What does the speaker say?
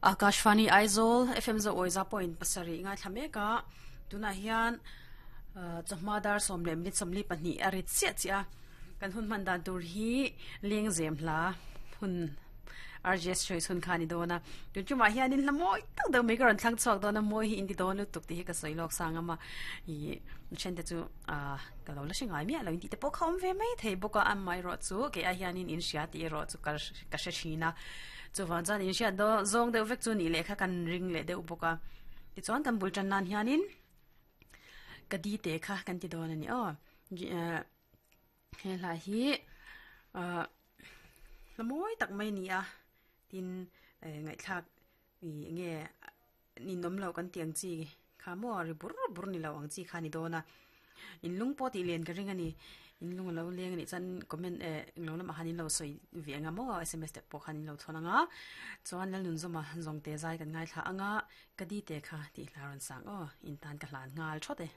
Akashvani Aizawl FM zo awiza point pasarih ngaithla mek a tunah hian chawhma dar sawm leh minute 42 a rit chiah chiah a kan hun hman dan tur hi lengzem hla hun RGS choice hun kha a ni dawn a tun tumah hianin hla mawi tak deuh mai ka rawn thlang chhuak dawn a mawi hi in ti dawn lutuk tih hi ka sawi lawk sang a ih then te chu ah ka lo la hre ngai miah lo in tih te pawh kha awm ve mai thei bawk a amaherawh chu kei ai hianin in hria tih erawh chu ka ka hre thin a chuvang chuan in hriat dawn zawng deuh vek chu nih leh kha kan ring leh deuh bawk a tichuan kan bul tan nan hianin ka di te kha kan ti dawn a ni aw he hla hi ah hla mawi tak mai a ni a tin eh ngaihthlak ih eng nge ninawm loh kan tih ang chi kha maw ri bur bur ni lo ang chi kha a ni dawn a in lung pawh tih len ka ring a ni in lung a lo leng a nih chuan comment eh englo lamah khan in lo sawi ve ang a maw sms te pawh khan in lo chhawn ang a chuan Lalnunzawma zawng te zai kan ngaithla ang a ka di te kha tih hla rawn sang aw in tan ka hlan nghal thawt e.